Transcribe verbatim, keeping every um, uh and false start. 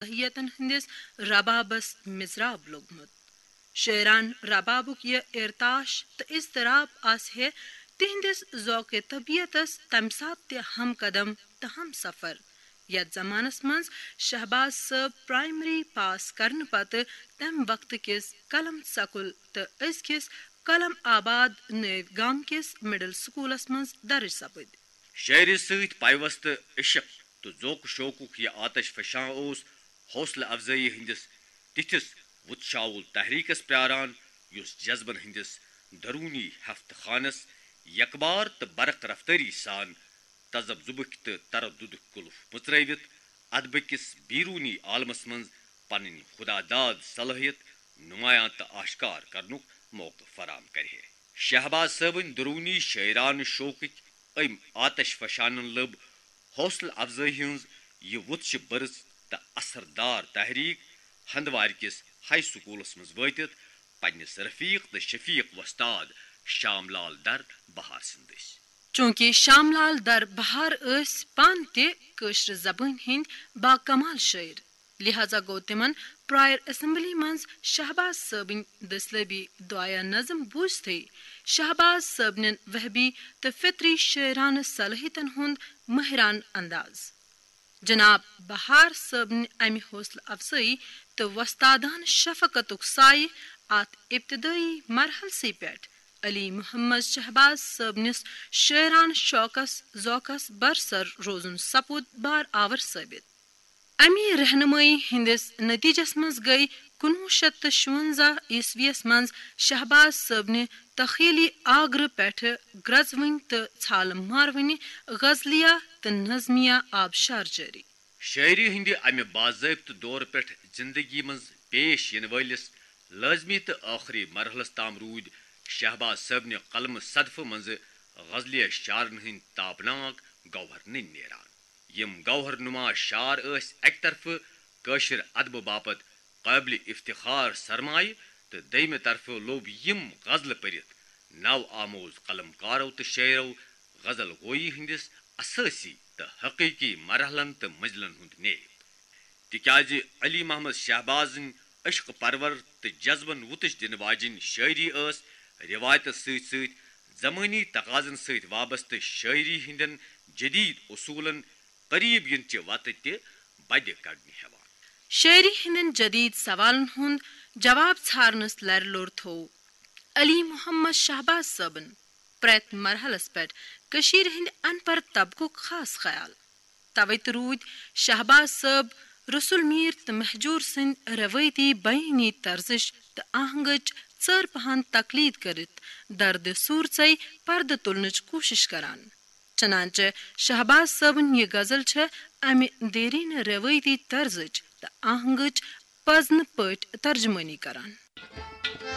صلٲحیتن ہٕنٛدِس ربابس مِضراب لوٚگمُت۔ شٲعرانہٕ ربابُک یہِ ارتاش تہٕ اضطراب آسہِ ہے تِہنٛدِس ذوقِ طبیعتس تمہِ ساتہٕ تہِ ہم قدم تہٕ ہم سفر، یتھ زمانس منٛز شہباز صٲب پرائمری پاس کرنہٕ پتہٕ تمہِ وقتہٕ کِس قلم سکول تہٕ أزکِس قلم آباد نٲوۍ گام کِس مڈل سکولس منٛز درج سپٕدۍ۔ شٲعری سۭتۍ پیوستہٕ عشق تہٕ ذوق شوقُک یہِ آتش فشاں اوس حوصلہٕ افزٲیی ہٕنٛدِس تِتھِس وُتشاوُل تحریکس پیاران، یُس جذبن ہٕنٛدِس درونی ہفتہٕ خانس یکبار تہٕ برق رفتٲری سان تذبذبٕکۍ تہٕ ترددُک قلف مُژرٲوِتھ ادبہٕ کِس بیرونی عالمس منٛز پنٕنۍ خدا داد صلٲحیت نمایاں تہٕ آشکار کرنُک موقعہٕ فراہم کرِ ہے۔ شہباز صٲبٕنۍ درونی شٲعرانہٕ شوقٕکۍ أمۍ آتش فشانن لٔب حوصلہٕ افزٲیی ہٕنٛز یہِ وُتشہِ بٔرٕژ تہٕ اثردار تحریک ہندوارِ کِس ہائی سکولس منٛز وٲتِتھ پننِس رفیق تہٕ شفیق وۄستاد شام لال در بہار سٕنٛدِ دٔسۍ۔ چونکہ شام لال در بہار ٲسۍ پانہٕ تہِ کٲشرِ زبٲنۍ ہٕنٛدۍ باکمال شٲعر، لہذا گوٚو تِمن پرائر اسمبلی منٛز شہباز صٲبٕنۍ دٔسلٲبی دعایہ نظم بوٗزتھٕے شہباز صٲبنٮ۪ن وہبی تہٕ فطری شٲعرانہٕ صلٲحیتن ہُنٛد مٲہرانہٕ انداز۔ جناب بہار صٲبنہِ امہِ حوصلہٕ افزٲیی تہٕ وۄستادانہٕ شفقتُک سایہِ اتھ ابتدٲیی مرحلسٕے پٮ۪ٹھ علی محمد شہباز صٲبنِس شٲعرانہٕ شوقس ذوقس برسر روزُن سپُد بار آور ثٲبت۔ امی رہنمٲیی ہٕنٛدِس نتیجس منٛز گٔے کُنوُہ شیٚتھ تہٕ شُونزہ عیسویس منٛز شہباز صٲبنہِ تخیلی آگرٕ پٮ۪ٹھٕ گرٛزوٕنۍ تہٕ ژھالہٕ ماروٕنہِ غزلیہ تہٕ نظمیہ آبشار جٲری۔ شٲعری ہٕنٛدِ امہِ باضٲبطہٕ دورٕ پٮ۪ٹھ زندگی منٛز پیش یِنہٕ وٲلِس لٲزمی تہٕ ٲخری مرحلس تام روٗدۍ شہباز صٲبنہِ قلمہٕ صدفہٕ منٛزٕ غزلیہ شعرن ہٕنٛدۍ تابناک گوہر نٔنۍ نیران۔ یِم گوہر نما شعر ٲسۍ اکہِ طرفہٕ کٲشِر ادبہٕ باپتھ قٲبلِ افتخار سرمایہِ تہٕ دوٚیمہِ طرفہٕ لوٚب یِم غزلہٕ پٔرِتھ نو آموز قلم کارو تہٕ شٲعرو غزل گویی ہٕنٛدِس اسٲسی تہٕ حقیقی مرحلن تہٕ منزلن ہُنٛد نیب۔ تِکیازِ علی محمد شہبازٕنۍ عشق پرور تہٕ جذبن وُتٕش دِنہٕ واجیٚنۍ شٲعری ٲس رٮ۪وایتس سۭتۍ سۭتۍ زمٲنی تقاضن سۭتۍ وابستہٕ شٲعری ہٕنٛدٮ۪ن جدید اصوٗلن قریب یِنہٕ چہِ وتہٕ تہِ بدِ کڑنہِ ہٮ۪وان۔ شٲعری ہٕنٛدٮ۪ن جدید سوالن ہُنٛد جواب ژھارنس لرِ لوٚر تھوو علی محمد شہباز صٲبن پرٛٮ۪تھ مرحلس پٮ۪ٹھ کٔشیٖرِ ہٕنٛدِ ان پڑھ طبقُک خاص خیال۔ توے تہٕ روٗدۍ شہباز صٲب رسول میر تہٕ مہجور سٕنٛدۍ روٲیتی بیٲنی طرزٕچ تہٕ آہنگٕچ ژٲر پہن تقلید کٔرِتھ دردِ سوٗرژے پردٕ تُلنٕچ کوٗشش کران۔ چنانچہ شہباز صٲبٕنۍ یہِ غزل چھےٚ امہِ دیرینہٕ روٲیتی طرزٕچ تہٕ آہنگٕچ پزنہٕ پٲٹھۍ ترجمٲنی کران۔